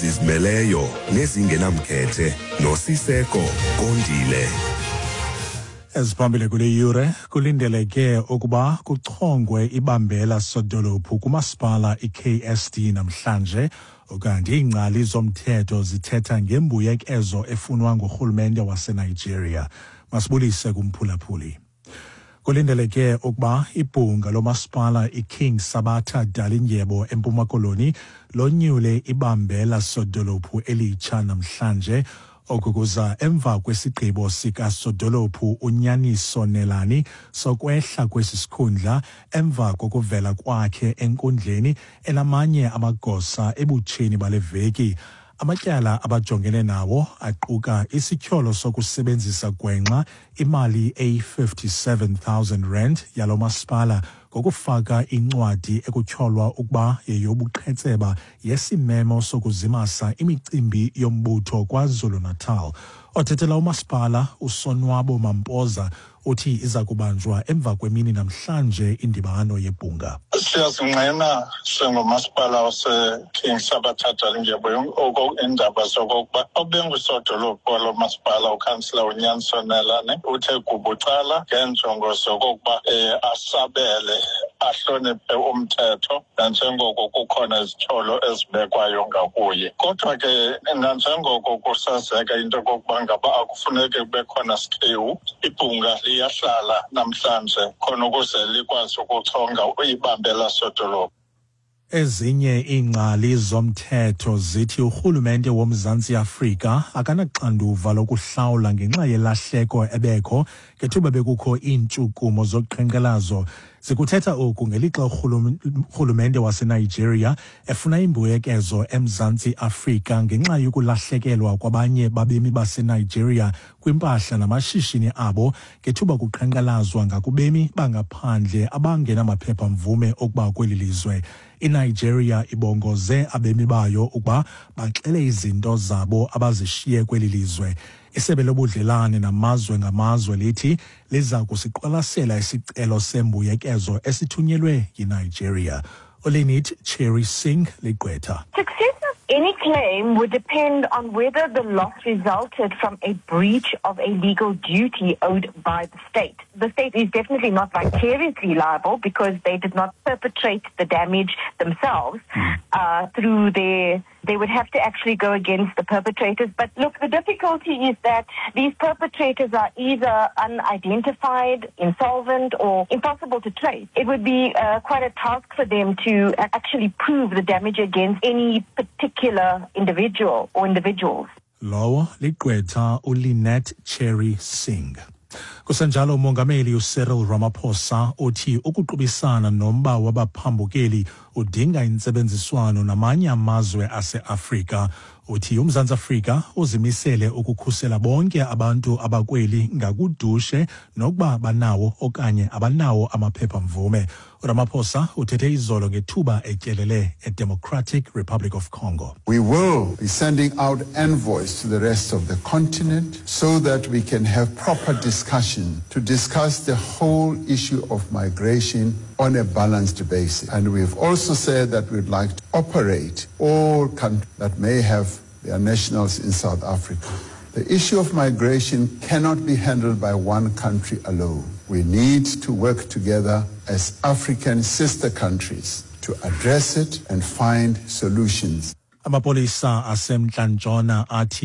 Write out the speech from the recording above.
Zizimeleyo nezingenamkhethe noSiseko Kondile. Eziphambili kule yure: kulindeleke ukuba kuchongwe ibambela sodolophu kumasipala iKSD namhlanje, ukanti iingcali zomthetho zithetha ngembuyekezo efunwa ngurhulumente waseNigeria. Masibulise kumphulaphuli. Kulindeleke ukuba ibhunga lomasipala iKing Sabatha Dalindyebo eMpuma Koloni lonyule ibambela sodolophu elitsha namhlanje. Oku kuza emva kwesigqibo sikasodolophu uNyaniso Nelani sokwehla kwesi sikhundla emva kokuvela kwakhe enkundleni enamanye amagosa ebutsheni bale veki. Amatyala abajongene nawo aquka isityholo sokusebenzisa gwenxa imali eyi-R57 000 yalo masipala ngokufaka incwadi ekutyholwa ukuba yeyobuqhetseba yesimemo sokuzimasa imicimbi yombutho KwaZulu-Natal. Othethela umasipala uSonwabo Mampoza uthi iza kubanjwa emva kwemini namhlanje indibano yebhunga. Siyazingqina singumasipala waseKing Sabatha Dalindyebo iindaba zokokuba obengusodolophu walo masipala, ukhansila uNyaniso Nelane, uthe gubucala ngeenjongo zokokuba asabele, ahloniphe umthetho, nanjengoko kukhona izityholo ezibekwayo ngakuye. Kodwa ke nanjengoko kusazeka into yokokuba ngaba akufuneki kube khona sikhewu, ibhunga liyahlala namhlanje khona ukuze likwazi ukuchonga ibambela sodolophu. Ezinye iingcali zomthetho zithi urhulumente woMzantsi Afrika akanaxanduva lokuhlawula ngenxa yelahleko ebekho ngethuba bekukho iintshukumo zoqhankqalazo. Zikuthetha oku ngelixa urhulumente waseNigeria efuna imbuyekezo eMzantsi Afrika ngenxa yokulahlekelwa kwabanye babemi baseNigeria kwimpahla namashishini abo ngethuba kuqhankqalazwa ngakubemi bangaphandle abangenamaphepha-mvume okuba kweli lizwe. INigeria ibongoze abemi bayo ukuba baxele izinto zabo abazishiye kweli lizwe. Isebe lobudlelane namazwe ngamazwe lithi liza kusiqwalasela isicelo sembuyekezo esithunyelwe yiNigeria. ULinit Cherry Singh ligqwetha. Success of any claim would depend on whether the loss resulted from a breach of a legal duty owed by the state. The state is definitely not vicariously liable because they did not perpetrate the damage themselves through their they would have to actually go against the perpetrators. But look, the difficulty is that these perpetrators are either unidentified, insolvent, or impossible to trace. It would be quite a task for them to actually prove the damage against any particular individual or individuals. Lowo ligqwetha uLinette Cherry Singh. Kusenjalo, umongameli uCyril Ramaphosa uthi ukuqubisana nomba wabaphambukeli udinga intsebenziswano namanye amazwe aseAfrika. Uthi uMzantsi Afrika uzimisele ukukhusela bonke abantu abakweli ngakudushe nokuba banawo okanye abanawo amaphepha-mvume. URamaphosa uthethe izolo ngethuba etyelele eDemocratic Republic of Congo. We will be sending out envoys to the rest of the continent so that we can have proper discussion to discuss the whole issue of migration on a balanced basis. And we've also said that we'd like to operate all countries that may have their nationals in South Africa. The issue of migration cannot be handled by one country alone. We need to work together as African sister countries to address it and find solutions. Amapolisa aseMntla Ntshona athi